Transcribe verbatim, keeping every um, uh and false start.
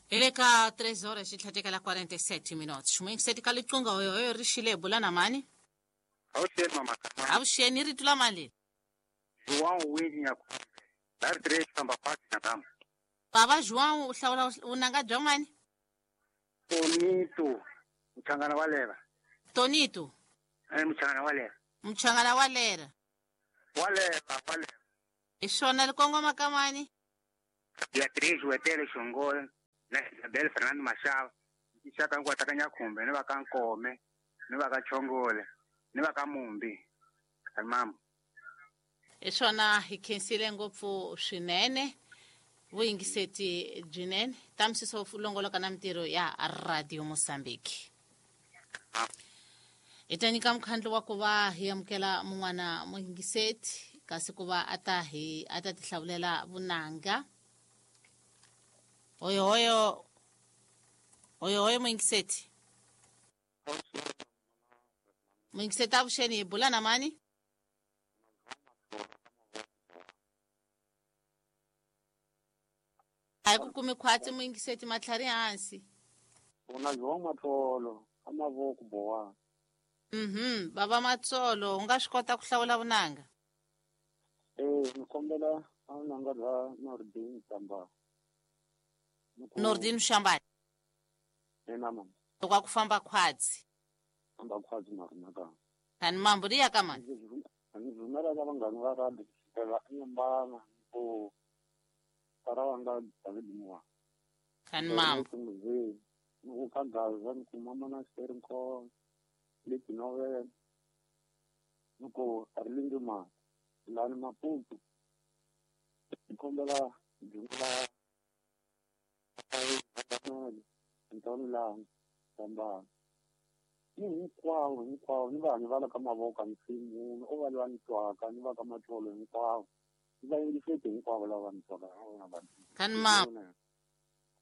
Hi le ka tres horas xi tlhatekela quarenta e sete minutos. Muyingiseti ka liqunga, hoyohoyo, ri xile, hi bula na mani? Avuxeni, mama. Avuxeni, rito la mali? João Winnie Nyakumbe. Dari três famba quatro nyakama. Bava João, u hlawula vunanga bya mani? Tonito. Muchangana wa leva. Tonito. Eh, muchangana wa leva. Muchangana wa lera. Wa leva, wa leva. Hi swona, li kongoma ka mani? Beatriz Wetele Shongole na Isabel Fernando Mashava. Xaka hinkwato ka Nyakhumbe ni va ka Nkome ni va ka Chongole ni va ka Mumbi. Mama. Hi swona, hi khensile ngopfu swinene vuyingiseti byinene ta misiso longoloka na mintirho ya Radio Mozambique. Hi ta nyika mukhandlu wa ku va hi amukela mun'wana muyingiseti, kasi ku va a ta hi a ta tihlawulela vunanga. Hoyohoyo, hoyohoyo, muyingiseti, muyingiseti, avuxeni, hi bula na mani? A hi ku kumi khwatsi, muyingiseti, matlhari hansi. Una João Matsolo a mavoko bowa. Mhm, bava Matsolo, u nga swi kota ku hlawula vunanga? Eh, ni kombela a vunanga bya Nordin Tamba. Nordin Shambani. Ena, mama. Loko a ku famba khwatsi. Famba khwatsi na rina ka. Kani mambo ri ya ka mani? Ndzi rhumela ka vanghana va radio kusukela eNyembana ku tara wanga David Moa. Kani mambo. Ni ku ka Gaza, ni ku mama na Serinko leti novel, ni ku Arlindo ma lani Maputo. Ni kombela byungula Ntoni lani Tambana ni hinkwavo hinkwavo ni vanhu va le ka mavoko a ni siyi munhu o va loyi a ni twaka, ni va ka Matsolo hinkwavo, ni vayingiseti hinkwavo lava ni twaka. Kani mambo.